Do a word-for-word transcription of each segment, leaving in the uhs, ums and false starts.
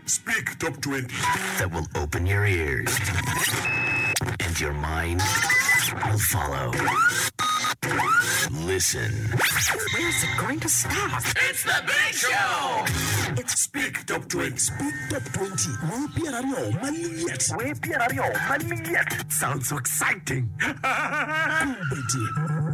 Speak Top twenty. That will open your ears and your mind will follow. Listen. Where's it going to stop? It's the big show! It's Speak Top twenty. Speak Top twenty. Wer pyeraryo malyet. Wer pyeraryo malyet. Sounds so exciting. Kombeddi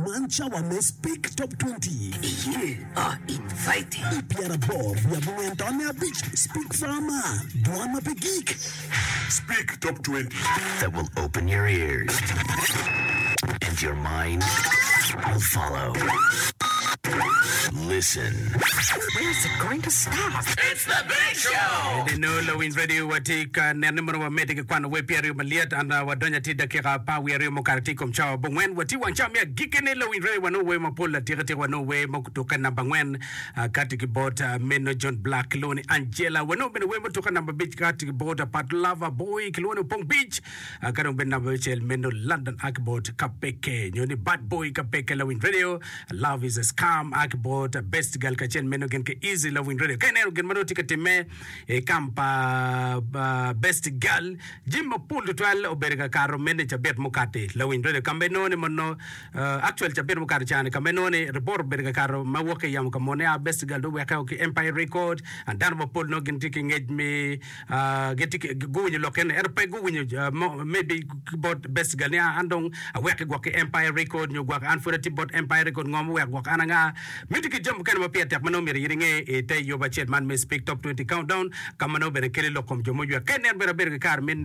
man cawa me Speak Top twenty. You are invited. I pyeraboro wiye abongwen tonne abic Speak Farmer. Dwan ma pe gik. Speak Top twenty. That will open your ears and your mind will follow. Listen. Where's it going to stop? It's the big show! Deno Lawiny Radio watye ka neno ni mono wamedde ki kwano wer pyeraryo malyet and wadonyo atir dakika apar wiye aryo mukato tye i kom cawa abongwen watye wang cawa me agikkine. Lawiny Radio, wanongo wer mapol atika tika. Wanongo wer mutukke namba angwen kati ki bot meno John Black, kilwongo ni Angela. Wanongo bene wer mutukke namba abic kati ki bot Pat Lava Boy, kilwongo ni Opong Beach. Ka dong bene namba abicel meno London a ki bot Kapeke nyo ni Bad Boy Kapeke. Lawiny Radio, Love Is a Scam a ki bot Best Girl kacel meno gin ki Easy. Lawiny Radio, ka ineno gin ma nongo tye ka timme i kam pa Best Girl, jami mapol tutwal obedo ka kato meno i cabit mukati. Lawiny Radio, ka ma inongo ni mono actual cabit mukato cani ka ma inongo ni report obedo ka kato ma wok ki i yamo ka mone a Best Girl dong oweke ki Empire Record and dano mapol nongo gin tye ki ngec me gitye ki guwinyo lok eni ento pe guwinyo maybe ki bot Best Girl ni an dong aweke gwok ki Empire Record nyo gwok an pud atye bot Empire Record ngo muweko gwok an anga miti ki jami mukene ma pire tek ma nongo myero in inge i te yub acel man me Speak Top twenty Countdown ka ma nongo bene keli lok kom jo muywek. Ka inen bene abedo ki kare me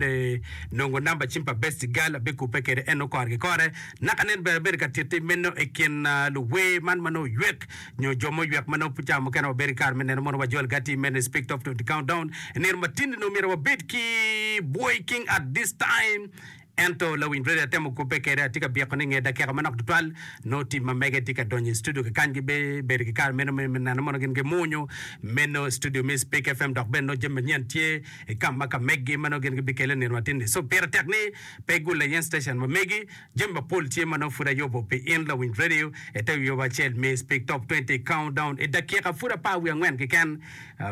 nongo namba cim pa Best Girl abikubbe kwede en nongo kore ki kore. Naka nen bene abedo ka titti meno i kin luwer man ma nongo oywek nyo jo muywek ma nongo cawa mukene wabedo ki kare me neno mono wajol gati meno i Speak Top twenty Countdown. I nino matindi nongo myero wabed ki Boy King at this time. Ento lawiny radio atemo kubbe kwede atye ka byeko ni nge dakika manok tutwal nongo tim ma mege tye ka donyo i studio kikany gibedo ki kare meno me neno mono gin gimunyu meno studio me Speak F M dok bene nongo jami manyen tye i kam ma ka megi ma nongo gin gibikele nino matin ni. So pire tek ni pe igul layen station ma megi. Jami mapol tye ma nongo pud ayubo pi in lawiny radio i te wi yob acel me Speak Top twenty Countdown i dakika pud apar wiye angwen keken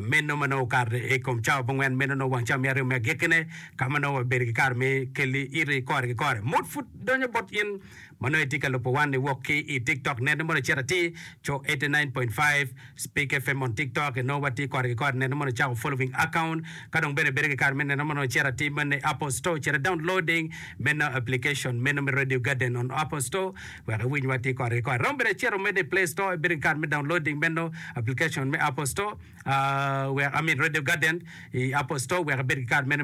meno ma nongo okato i kom cawa abongwen meno nongo wang cawa me aryo me agikkine ka ma nongo wabedo ki kare me keli iti kore ki kore. Mot pud donyo bot in ma nongo itye ka lubo wan iwok ki i TikTok nene mono icito atir co eighty-nine point five Speak F M on TikTok inongo watye kore ki kore nene mono icako following account ka dong bene ibedo ki kare me neno mono icito atir meno i Apple Store cito downloading meno application meno me Radio Garden on Apple Store wek iwiny watye kore ki kore. Romo bene icito meno i Play Store ibedo ki kare me downloading meno application me Apple Store uh, wek I mean Radio Garden i Apple Store wek ibed ki kare meno me